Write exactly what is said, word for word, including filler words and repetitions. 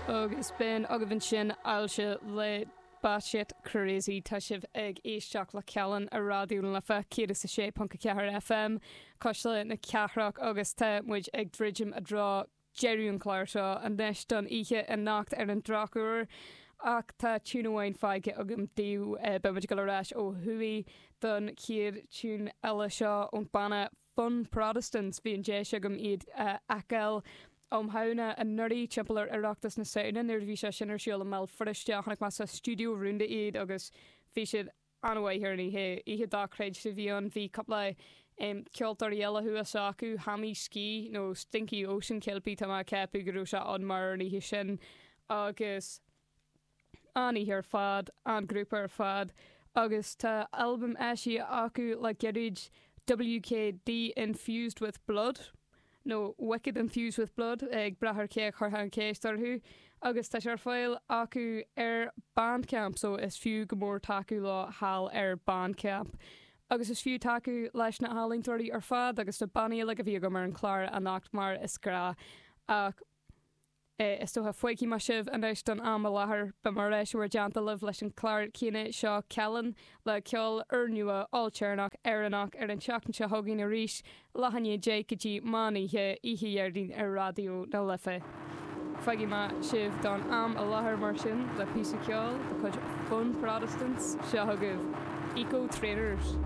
Agus b'in agaibh ansin Ailse le Batshit Crazy tá sibh ag éisteacht le Cealann ar Raidió na Life céad is a sé ponc a ceathair FM Cuisle na Cathrach agus tá muid ag druidim i dtreo deireadh an chláir seo anois don oíche anocht ar an drochuair ach tá tiún amháin fágtha agam daoibh beidh muid ag dul ar ais ó thuaidh don chéad tiún eile seo ón banna Fun Protestants bhí an deis agam iad a fheiceáil um Shamhna anuraidh timpeall ar Oireachtas na Samhna nuair a bhí sé sin ar siúl i mBéal Feirste chonaic mé sa stiúideo rúnda iad agus bhí siad an-mhaith ar an oíche oíche dochreidte a bhí ann bhí cúpla um, ceoltóirí eile thuas acu Hammy Ski nó Stinky Ocean Kelpie tá mé ag ceapadh go raibh sé ann mar an oíche sin agus an oíche ar fad an grúpa ar fad agus tá albam eisithe acu le gairid WKD Infused with Blood. nó Wicked Infused with Blood ag brath ar cé a chuirfeá an cheist orthu, agus tá sé ar fáil acu ar Bandcamp so is fiú go mór tacú leo thall ar Bandcamp. Agus is fiú tacú leis na healaíontóirí ar fad agus na bannaí uilig a bhí agam ar an chlár anocht mar is gnách ach Is dócha fágfaidh mé sibh anois don am i láthair beidh mé ar ais i bhur dteannta libh leis an chlár céanna seo Cealann le ceol úrnua ailtéarnach Éireannach ar an tseachtain seo chugainn arís leath i ndiaidh a deich go dtí meán oíche oíche Dhéardaoin ar Raidió na Life. Fágfaidh mé sibh don am i láthair mar sin le píosa ceoil de chuid Fun Protestants seo chugaibh Eco Trainers.